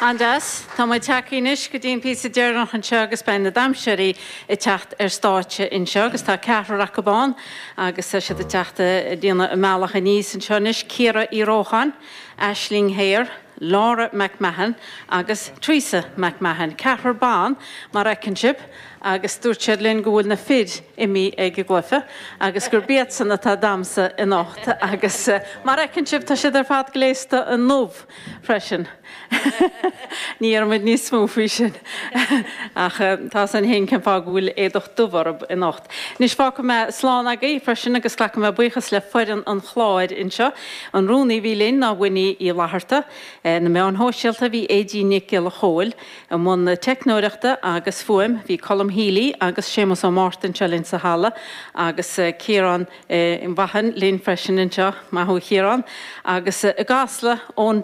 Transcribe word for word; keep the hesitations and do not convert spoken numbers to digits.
An-deas, tá muid tagtha anois go dtí an píosa deireanach anseo agus beidh na damhsóirí ag teacht ar stáitse anseo agus tá ceathrar acu ann agus tá siad ag teacht ag déanamh a mbealach aníos anseo anois Ciara Uí Rócháin, Aisling Heyer, Laura McMahon agus Teresa McMahon. Ceathrar ban mar a fheiceann sibh agus dúirt siad linn go bhfuil na fir imithe ag an gcluiche agus gurb iadsan atá ag damhsa anocht agus eh, mar a fheiceann sibh tá siad ar fad gléasta i ndubh freisin. Ní déarfaimid níos mó faoi sin ach eh, tá san héin cén fáth go bhfuil éadach dubh orthu anocht. Anois fágfaidh mé slán agaibh freisin agus glacfaidh mé buíochas le foireann an chláir anseo. An rúnaí a bhí linn ná Winnie Uí Fhlatharta, eh, na meáin shóisialta bhí Aedín Nic Giolla Chóill, i mbun na teicneoireachta agus fuaim bhí Colm Healy agus Séamus Ó Mártain seo linn sa halla agus eh, Ciarán eh, Vaughan linn freisin anseo maith thú Ciarán agus eh, i gCasla ón